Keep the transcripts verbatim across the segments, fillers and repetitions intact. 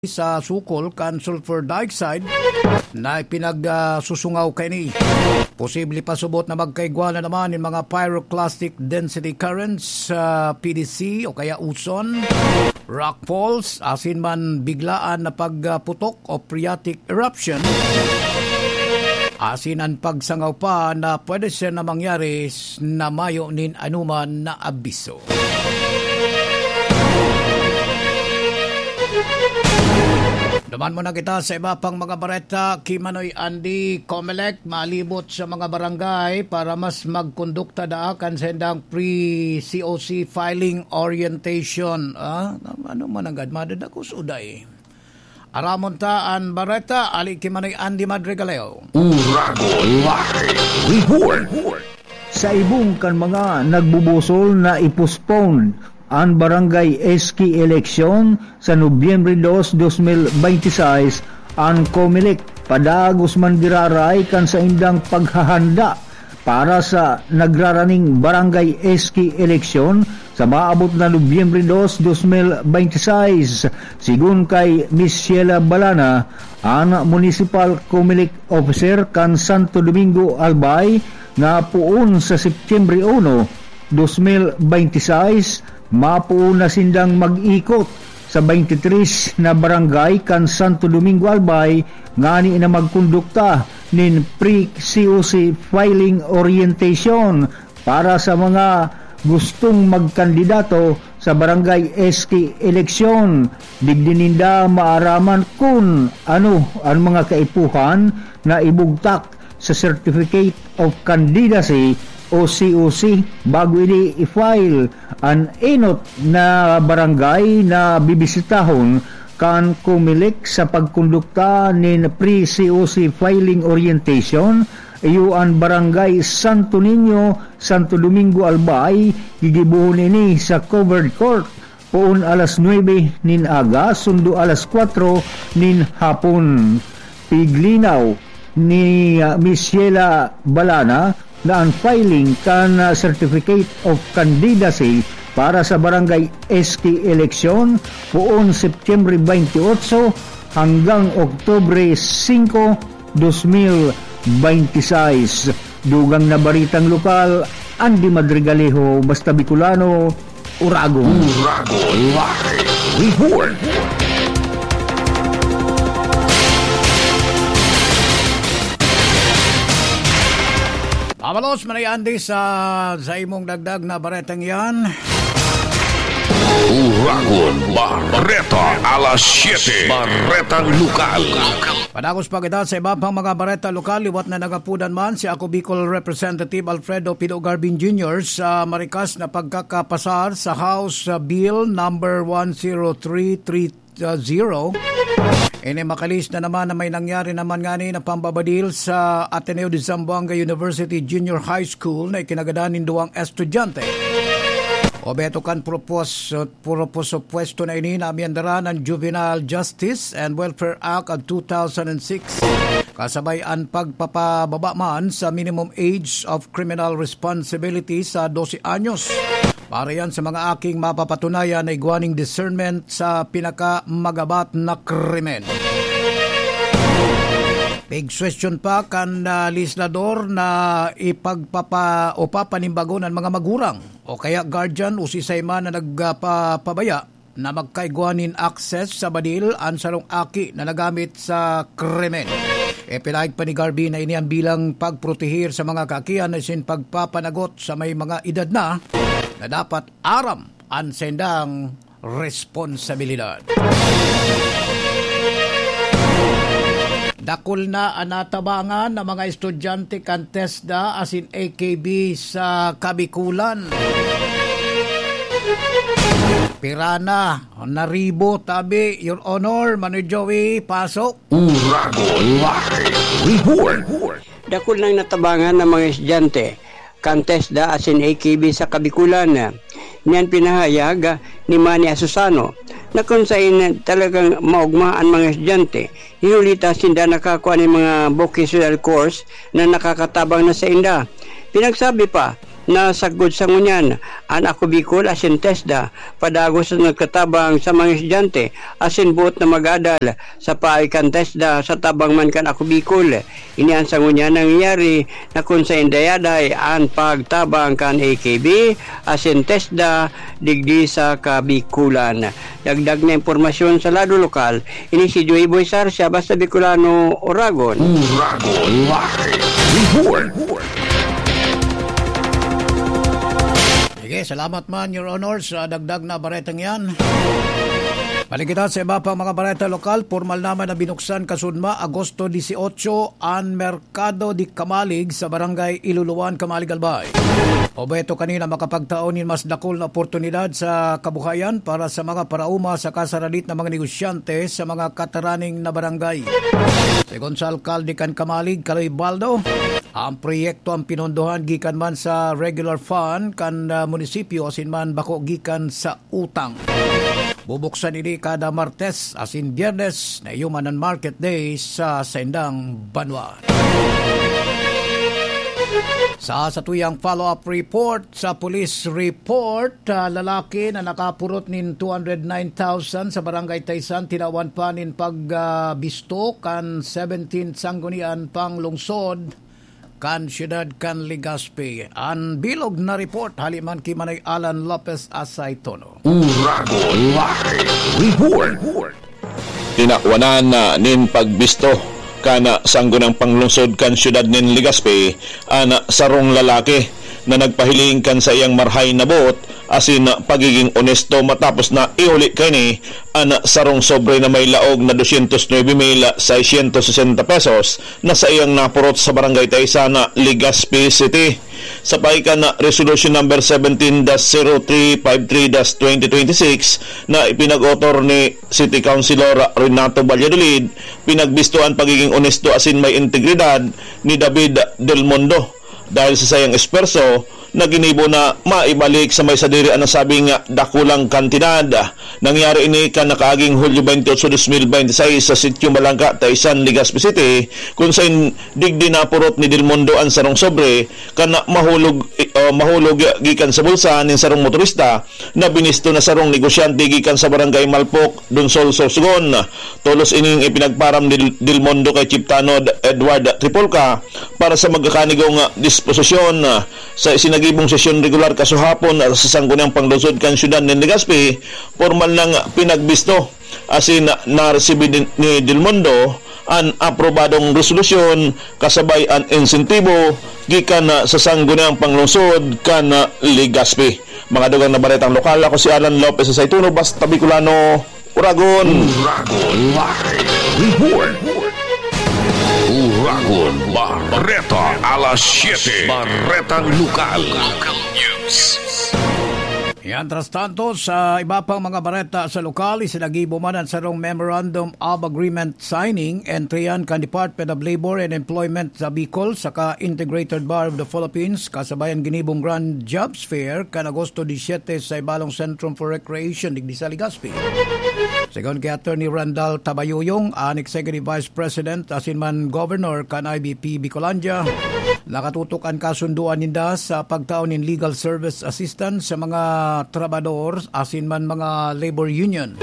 sa sukol kan sulfur dioxide na ipinagsusungaw kaini. Posible pa subot na magkaigwa na naman nin mga pyroclastic density currents, ah, P D C o kaya uson, rockfalls, asin man biglaan na pagputok o phreatic eruption, asin an pagsangaw pa na pwede siya na mangyari s-, na mayo nin anuman na abiso. Duman muna kita sa iba pang mga bareta. Kimanoy Andy, Comelec, malibot sa mga barangay para mas magkondukta daa kan sendang pre-C O C filing orientation. Ah, ano man ang gad? Madadakos uday. Aramon ta an bareta, ali ki Manoy Andy Madrigaleo. Uragon Live Report. Sa ibong kan mga nagbubusol na i-postpone an barangay S K eleksyon sa Nobyembre dos, dos mil bente seis, an Comelec padagos man giraray kan saindang paghahanda para sa nagraraning barangay S K eleksyon sa maabot na Nobyembre dos, dos mil bente seis. Sigon kay Miss Sheila Balana, an municipal Comelec officer kan Santo Domingo, Albay, na poon sa Setyembre uno, dos mil bente seis, mapoon na sindang mag-ikot sa baynte tres na barangay kan Santo Domingo, Albay, ngani na magkondukta nin pre-C O C filing orientation para sa mga gustong magkandidato sa barangay S K eleksyon. Digdi ninda maaraman kun ano an mga kaipuhan na ibugtak sa Certificate of Candidacy o C O C bago ini i-file. An enot na barangay na bibisitahon kan Comelec sa pagkondukta nin pre-C O C filing orientation, iyo an Barangay Santo Niño, Santo Domingo, Albay. Gigibohon ini sa covered court, poon alas nuebe nin aga, sundo alas kwatro nin hapon. Piglinaw ni, ah, Miss Sheila Balana na an filing kan, ah, Certificate of Candidacy para sa Barangay S K eleksyon poon Setyembre baynte otso hanggang Oktubre singko, dos mil baynte sais. Dugang na baritang lokal, Andy Madrigalejo, Basta Bicolano, Uragon. Uragon Live Report. Pamalos man ay Andy sa, sa imong dagdag na baretang yan. Uragon Bareta, alas siyete, Baretang Lokal. Padagos pa kita sa iba pang mga bareta lokal, liwat na nagapudan man si Ako Bicol Representative Alfredo Pido Garbin Junior sa marikas na pagkakapasar sa House, uh, Bill number one zero three three zero. Ini makalis na naman na may nangyari naman ngani na pambabadil sa Ateneo de Zamboanga University Junior High School na ikinagadan nin duwang estudyante. Obheto kan propos-, puro po sa pwesto na ini na amyandaran ang juvenile justice and welfare act of two thousand and six, kasabay an pagpapababa man sa minimum age of criminal responsibility sa dose anyos. Para yan sa mga aking mapapatunayan na igwaning discernment sa pinakamagabat na krimen. Pigsuwestiyon pa kan, ah, legislador na ipagpapa-, o papanimbagon ang mga magurang o kaya guardian o sisay man na nagpapabaya na magkaigwa nin access sa badil an sarong aki na nagamit sa krimen. Ipinahayag pa ni Garvin na ini ang bilang pagprotehir sa mga kaakian na sin pagpapanagot sa may mga edad na, na dapat aram an sendang responsibilidad. Dakul na an natabangan na mga estudyante kan TESDA asin A K B sa Kabikulan. Pira na, naribo, tabi, Your Honor, Manoy Joey, pasok. Uragon Live Report. Dakul nang natabangan na mga estudyante kan TESDA asin A K B sa Kabikulan. Niyan pinahayag ni Manny Asusano na kun sain talagang maogma an mga estudyante, hinuli ta sinda nakakua nin mga vocational course na nakakatabang na sainda. Pinagsabi pa Nasagkod sa ngunyan an Ako Bicol asin TESDA, padagos na nagtatabang sa mga estudyante asin boot na mag-adal sa paagi kan TESDA sa tabang man kan Ako Bicol. Ini an sa ngunyan nangyayari na kun saen dayaday an pagtabang kan A K B asin TESDA digdi sa Kabikulan. Dagdag na impormasyon sa lado lokal, ini si Joey Boy Sarsia, Basta Bicolano, Oragon. Oragon Live Report. Sige, salamat man, Your Honor, sa dagdag na baretang yan. Balik kita sa iba pang mga bareta lokal. Pormal naman na binuksan kasunma, Agosto dieciocho, an Merkado di Kamalig sa Barangay Iluluan, Kamalig, Albay. Obheto kanina makapagtao nin mas dakul na oportunidad sa kabuhayan para sa mga paraoma saka sa radit na mga negosyante sa mga kataraning na barangay. Segun sa alkalde kan Kamalig, Kaloy Baldo, ang proyekto ang pinondohan gikan man sa regular fund kan, ah, munisipyo asin man bako gikan sa utang. Bubuksan ini kada Martes asin Biyernes na iyo man an market day sa saindang banwa. Sa satuyang follow-up report, sa police report, ah, lalaki na nakapurot nin two hundred nine thousand sa Barangay Taysan, tinawan pa nin pag, ah, bisto kan seventeenth Sanggunian Panglungsod kan siyudad kan Legazpi. An bilog na report hali man ki Manoy Alan Lopez Asaytono. Uragon Live Report. Tinawanan na nin pagbisto kan Sangguniang Panglungsod kan siyudad nin Legazpi an sarong lalaki na nagpahiling kan saiyang marahay na boot asin pagiging onesto matapos na ihuli kaini an sarong sobre na may laog na doscientos nuebe mil seiscientos sesenta pesos na saiyang napurot sa Barangay Taysan, Legazpi City. Sa pahikan na Resolution Number seventeen dash zero three five three dash twenty twenty-six na ipinag-author ni City Councilor Renato Valladolid, pinagbisto an pagiging onesto asin may integridad ni David Del Mundo dahil sa saiyang esfuerso na ginibo na maibalik sa may sadiri an nasabing dakulang kantidad. Nangyari ini kan nakaaging Hulyo twenty-eight, twenty twenty-six sa Sitio Malangka, Taysan, Legazpi City, kun sain digdi napurot ni Del Mundo an sarong sobre kan mahulog, eh, mahulog gikan sa bulsa nin sarong motorista na binisto na sarong negosyante gikan sa Barangay Malpok, Donsol, Sorsogon. Tolos ining ipinagparam ni Del Mundo kay Chief Tanod Edward Tripolca para sa magkakanigong disposisyon. Sa isinagibong sesyon regular kasuhapon sa Sangguniang Panglungsod kan Siyudad nin Legazpi, pormal nang pinagbisto asin naresibi ni, ni Del Mundo an aprobadong resolusyon kasabay an insentibo gikan sa Sangguniang Panglungsod kan Legazpi. Mga dugang na baretang lokal, ako si Alan Lopez sa Saituno, Basta Bicolano, Uragon. Uragon Live Report. Uragon Bareta, alas siyete. Baretang lokal. Local news. Yan, tras tanto, sa iba pang mga bareta sa lokal, isinagibo man ang sarong Memorandum of Agreement signing, entry yan kan Department of Labor and Employment sa Bicol saka Integrated Bar of the Philippines, kasabayan ginibong Grand Jobs Fair kan Agosto diecisiete sa Ibalong Centrum for Recreation digdi sa Legazpi. Segun ki Attorney Randall Tabayuyong, an Executive Vice President asin man Governor kan I B P Bicolandia, nakatutok an kasundoan ninda sa pagtao nin legal service assistance sa mga trabahador asin man mga labor union.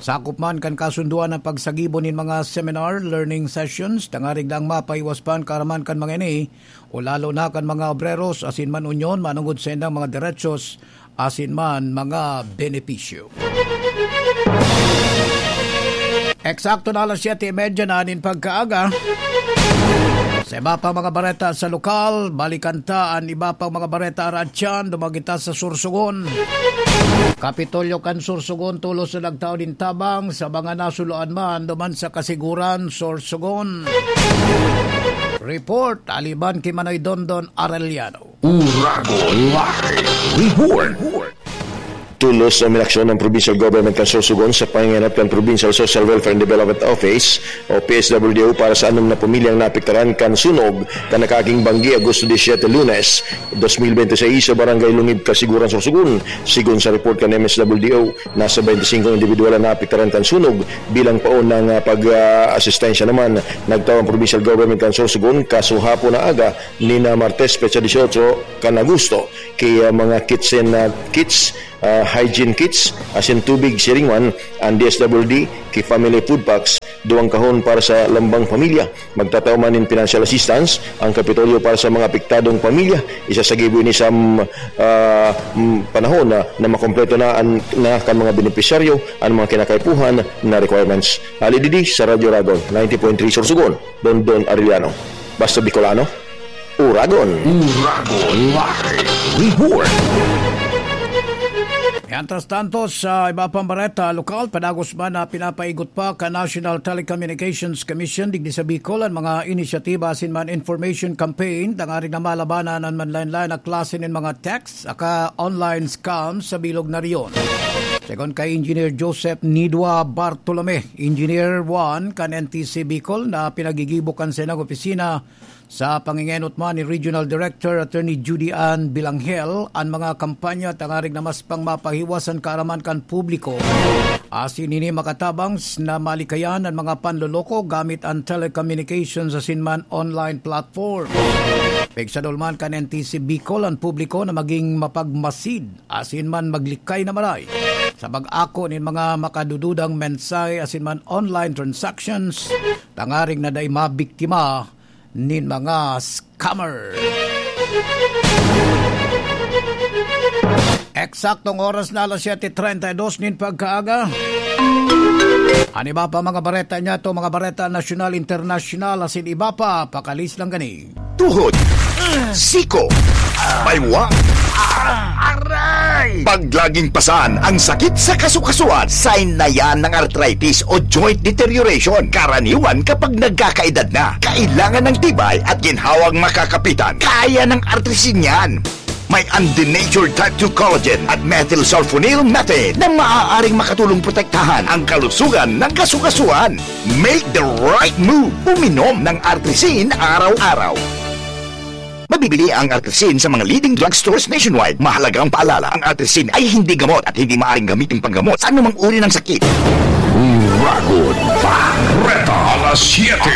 Sakop man kan kasundoan an pagsagibo nin mga seminar, learning sessions, tangarig lang mapaiwas pa an kaaraman kan mga ini, o lalo na kan mga obreros asin man unyon manongod sa indang mga derechos asin man mga benepisyo. Eksakto na alas siyete y medya na nin pagkaaga. Sa iba pang mga bareta sa lokal, balikan ta an iba pang mga bareta aratyan, duman kita sa Sorsogon. Kapitolyo kan Sorsogon, tolos na nagtao nin tabang sa mga nasuloan man duman sa Kasiguran, Sorsogon. Report, aliban ki Manoy Dondon Arellano. Uragon Live Report. Tulos na uminaksyon ang Provincial Government kan Sorsogon sa pangenot kan Provincial Social Welfare and Development Office o P S W D O para sa anom na pamilyang naapektaran kan sunog kan nakaaging banggi, Agosto disiyete, Lunes, dos mil bente seis, sa Barangay Lungib, Kasiguran, Sorsogon. Sigon sa report kan M S W D O, nasa baynte singko individual ang naapektaran kan sunog bilang paon ng, ah, pag-asistensya naman. Nagtaw ang Provincial Government kan Sorsogon kasuhapon na aga, nina Martes, petsa dieciocho kan Agosto, ki, ah, mga kitchen, ah, kits, ah, hygiene kits, asin tubig, siring man an D S W D ki family food packs, duwang kahon para sa lambang pamilya. Magtatao man nin financial assistance ang Kapitolyo para sa mga apektadong pamilya. Isa sa gibo ini sa, mm, ah, mm, panahon na, na makompleto na an, na kan mga benepisyaryo an mga kinakaipuhan na requirements. Ali Didi sa Radyo Ragon, ninety point three Sorsogon, Dondon Arellano. Basta Bicolano, Uragon. Uragon Live Report. Mientras tanto, sa iba pang bareta lokal, padagos man na pinapaigot pa kan National Telecommunications Commission digdi sa Bicol an mga inisyatiba asin man information campaign tanganing na malabanan an manlaen-laen na klase nin mga text saka online scam sa bilog na rehiyon. Segun kay Engineer Joseph Nidua Bartolome, Engineer one kan N T C Bicol, na pinagigibo kan saindang opisina, sa pangengenot man ni Regional Director Attorney Judy Ann Bilanghel, an mga kampanya tanganing na mas pang mapahiwas an kaaraman kan publiko. Asin ini makatabang s-, na malikayan an mga panloloko gamit an telecommunications asin man online platform. Pigsadol man kan N T C Bicol an publiko na maging mapagmasid asin man maglikay na maray sa pag-ako nin mga makadududang mensahe asin man online transactions, tanganing na dai mabiktima nin mga scammer. Eksaktong oras na, alas siyete treinta y dos nin pagkaaga. An iba pa mga bareta niyato, mga bareta nasyonal, internasyonal, asin iba pa, pakalis lang gani. Tuhod, siko, baywa, aray! Pag laging pasan ang sakit sa kasukasuan, sign na yan ng arthritis o joint deterioration. Karaniwan kapag nagkakaedad na, kailangan ng tibay at ginhawang makakapitan. Kaya ng Artrisin yan. May undenatured type two collagen at methylsulfonyl methane na maaaring makatulong protektahan ang kalusugan ng kasukasuan. Make the right move. Uminom ng Artrisin araw-araw. Mabibili ang Artrisin sa mga leading drugstores nationwide. Mahalagang paalala, ang Artrisin ay hindi gamot at hindi maaaring gamitin panggamot sa anumang uri ng sakit. Uragon Bareta, alas siyete.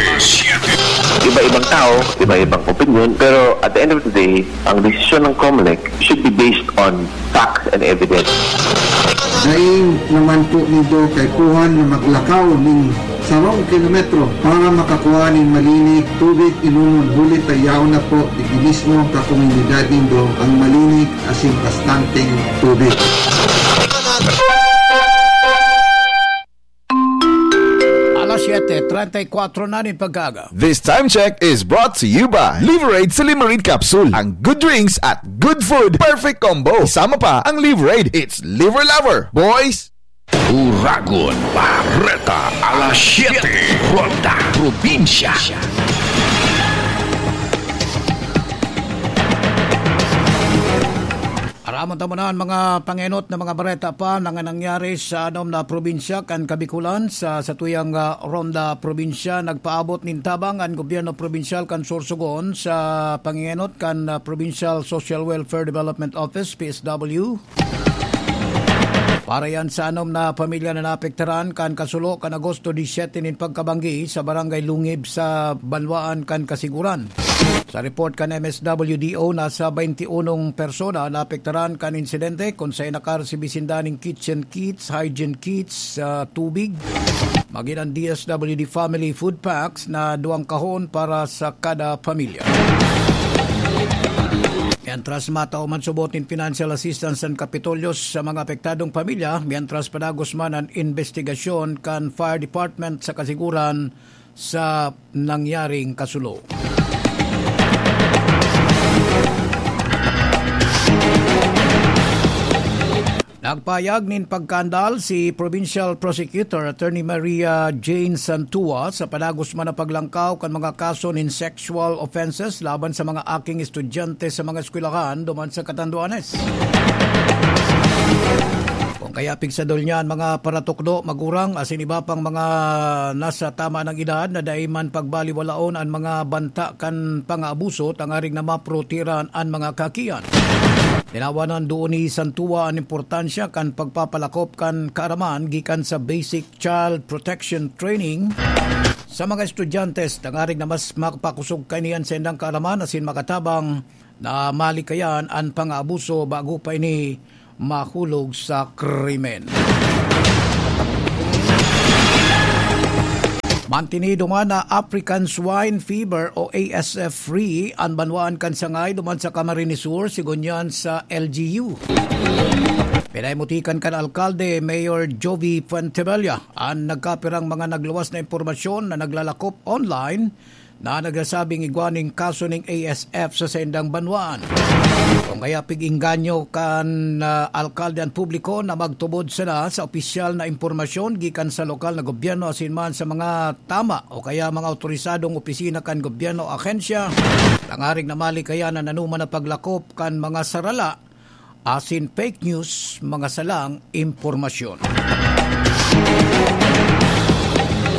Iba-ibang tao, iba-ibang opinion, pero at the end of the day, ang desisyon ng Comelec should be based on facts and evidence. Dai naman po nindo kaipuhan na maglakaw nin sarong kilometro para makakua nin malinig tubig inomon, huli ta yaon na po digdi mismo ka komunidad nindo ang malinig asin bastanteng tubig. Alas siyete treinta y cuatro na nin pagkaaga. This time check is brought to you by Liverade Silimarin Capsule. Ang good drinks at good food, perfect combo. Isama pa ang Liverade. It's Liver Lover, boys! Uragon Bareta, alas siyete, Ronda Probinsya. Aramon ta muna an mga pangenot na mga bareta pa na nangyari sa anom na probinsya kan Kabikulan. Sa satuyang, ah, Ronda Probinsya, nagpaabot nin tabang an gobyerno probinsyal kan Sorsogon sa pangenot kan, ah, Provincial Social Welfare Development Office, P S W, para yan sa anom na pamilya na naapektaran kan kasulo kan Agosto disiyete nin pagkabanggi sa Barangay Lungib sa Banwaan kan Kasiguran. Sa report kan M S W D O, nasa baynti unong persona naapektaran kan insidente, kun saen nakaresibi sinda nin kitchen kits, hygiene kits, ah, tubig, magin an D S W D family food packs na duwang kahon para sa kada pamilya. Mientras, matao man subot nin financial assistance an Kapitolyo sa mga apektadong pamilya, mientras padagos man an investigasyon kan Fire Department sa kasiguran sa nangyaring kasulo. Nagpahayag nin pagkaandal si Provincial Prosecutor Attorney Maria Jane Santua sa padagos man na paglangkaw kan mga kaso nin sexual offenses laban sa mga aking estudyante sa mga eskwelahan duman sa Catanduanes. Kaya pigsadol niya an mga paratukdo, magurang, asin iba pang mga nasa tama ng edad na dai man pagbaliwalaon an mga banta kan pangaabuso, tangaring na maprotehiran an mga kakian. Tinawanan duon ni Santua an importansya kan pagpapalakop kan kaaraman gikan sa basic child protection training sa mga estudyante, tangaring na mas makapakusog kaini an saindang kaaraman asin makatabang na malikayan an pangaabuso bago pa ini mahulog sa krimen. Mantini duman na African Swine Fever o A S F free an banwaan kan Sangay duman sa Camarines Sur, sigon yan sa L G U. Pinahimutikan kan alkalde, Mayor Jovi Fuentebella, an nagkapirang mga nagluwas na impormasyon na naglalakop online na nagsasabing igwa nin kaso ning A S F sa saindang banwaan. Kung kaya pig-inganyo kan, ah, alkalde an publiko na magtubod sana sa opisyal na impormasyon gikan sa lokal na gobyerno asin man sa mga tama o kaya mga otorisadong opisina kan gobyerno o ahensya, tangaring na malikayan an anoman na paglakop kan mga sarala asin fake news, mga salang impormasyon.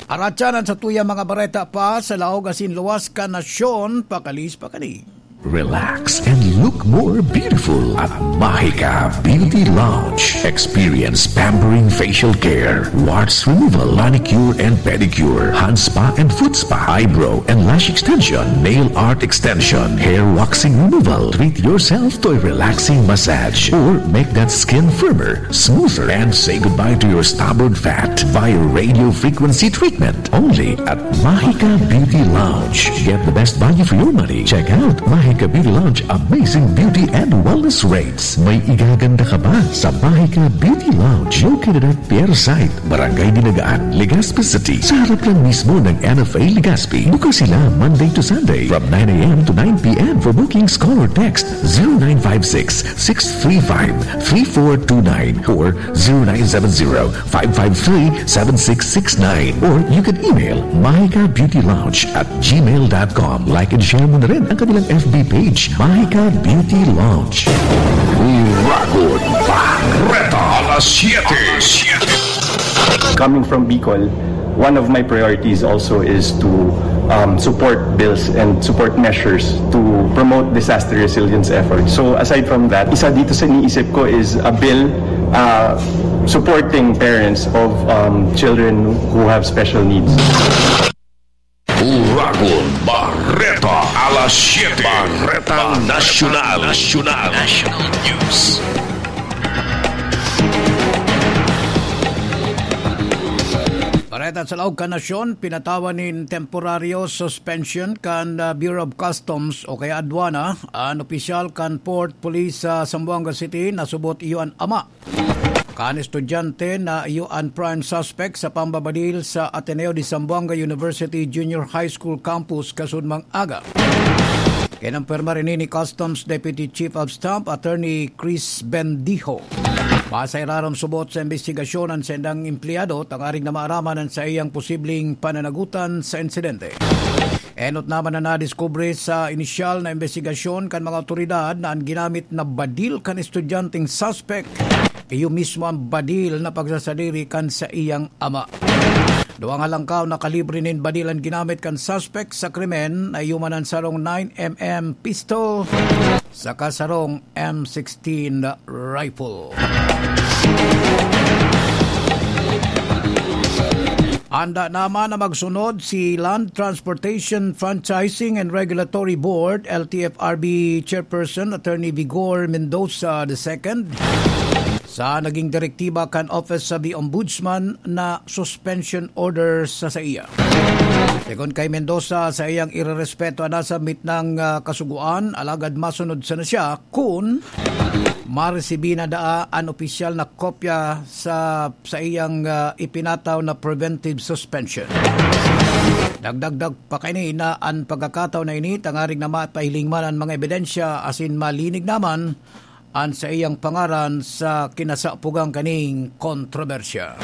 Aratyan an satuyang mga bareta pa sa laog asin luwas kan nasyon, pakalis pa kani. Relax and look more beautiful at Mahika Beauty Lounge. Experience pampering facial care, warts removal, manicure and pedicure, hand spa and foot spa, eyebrow and lash extension, nail art extension, hair waxing removal. Treat yourself to a relaxing massage or make that skin firmer, smoother, and say goodbye to your stubborn fat via radio frequency treatment. Only at Mahika Beauty Lounge. Get the best value for your money. Check out Mahika Beauty Lounge amazing beauty and wellness rates. May igaganda ka ba sa Mahika Beauty Lounge? Located at Pier Site, Barangay Dinagaan, Legazpi City, sa harap lang mismo ng N F A Legazpi. Bukas sila Monday to Sunday from nine a m to nine p m. For bookings, call or text zero nine five six, six three five, three four two nine or zero nine seven zero, five five three, seven six six nine. Or you can email mahikabeautylounge at gmail dot com. Like and share mo na rin ang kanilang F B page, Mahika Beauty Lounge. Uragon Bareta, alas siyete. Coming from Bicol, one of my priorities also is to, um, support bills and support measures to promote disaster resilience efforts. So aside from that, isa dito sa iniisip ko is a bill, uh, supporting parents of, um, children who have special needs. Uragon Bareta, alas siyete. Baretang Nasyonal. Nasyonal. National News. Bareta sa laog kan nasyon, pinatawan nin temporaryo suspension kan, ah, Bureau of Customs o kaya Aduana an opisyal kan Port Police sa Zamboanga City na subot iyo an ama kan estudyante na iyo an prime suspect sa pambabadil sa Ateneo de Zamboanga University Junior High School Campus kasunmang aga. Kinumpirmar ini ni Customs Deputy Chief of Staff Attorney Chris Bendijo. Sa irarom, subot sa imbestigasyon an saindang empleyado tangaring na maaraman an saiyang posibleng pananagutan sa insidente. Enot naman na nadiskubre sa inisyal na imbestigasyon kan mga awtoridad na an ginamit na badil kan estudyanteng suspect, iyo mismo an badil na pagsasadiri kan saiyang ama. Duwa nga langkaw na kalibre nin badil an ginamit kan suspect sa krimen, na iyo man an sarong nine M M pistol saka sarong M sixteen rifle. Handa naman na magsunod si Land Transportation Franchising and Regulatory Board, L T F R B Chairperson Attorney Vigor Mendoza the second, sa naging direktiba kan Office of the Ombudsman na suspension order sa saiya. Segun kay Mendoza, saiyang irerespeto an nasa mitnang, ah, kasugoan, alagad masunod sana siya kun maresibi na daa an opisyal na kopya sa saiyang, ah, ipinataw na preventive suspension. Dagdagdag pa kaini na an pagkakataon na ini tangaring na mapahiling man an mga ebidensya asin malinig naman an saiyang pangaran sa kinasapugan kaning kontrobersya.